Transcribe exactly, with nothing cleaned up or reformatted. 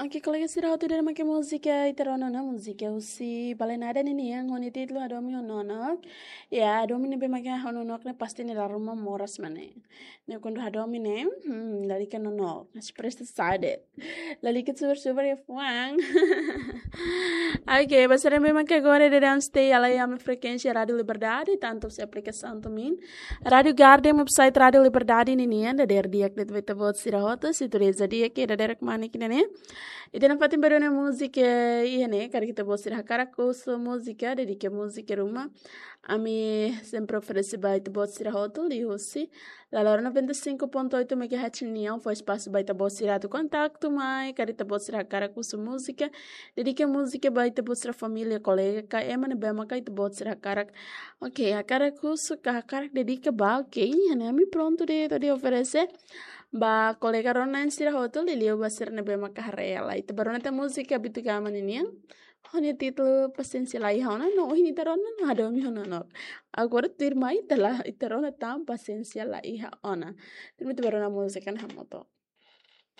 Oke, kolega sira hotu, ida-ne'e mak múzika ita rona ona, múzika husi Bale Nada ninian ho nia títulu Hadomi ho Nonook. Ya, hadomi ne'ebé mak ha'u ho Nonook ne'e pasti nia dala ruma moras mak ne'e. Ne'e kuandu hadomi ne'e, hmm, lalika nonook. Mas presta sadet. Lalika super super ya fuang. Oke, ba sira ne'ebé mak agora daudaun stay halai ami frekuénsia Rádiu Liberdade, tantu husi aplikasaun to'o min. Rádiu Garden, website Rádiu Liberdade ninian, dadeer di'ak de'it ba ita-boot sira hotu, sintonia di'ak, dadeer kemana kina ne'e. Ita nafatin ba rona múzika, iha ne'e, karik ita-boot sira hakarak husu múzika, dedika múzika ruma. Ami sempre oferese ba ita-boot sira hotu, liuhusi Lalor noventa e cinco ponto oito megahertz nian, fó espasu ba ita-boot sira atu kontaktu mai, karik ita-boot sira hakarak husu múzika, dedika múzika ba ita-boot sira família, kolega, ka ema ne'ebé maka ita-boot sira hakarak. Oke, hakarak husu ka hakarak dedika ba, oke, iha ne'e ami prontu de'it atu oferese ba kolega rona-na'in sira hotu, liuliu ba sira ne'ebé maka haree lai. Ita ba rona tan múzika Bitu Gama ninian. Ho nia títulu Pasiénsia La Iha Ona, no ohin ita rona ona Hadomi ho Nonook. Agora tuirmai ita la, ita rona tan Pasiénsia La Iha Ona. Tuirmai ita ba rona múzika ne'e hamutuk.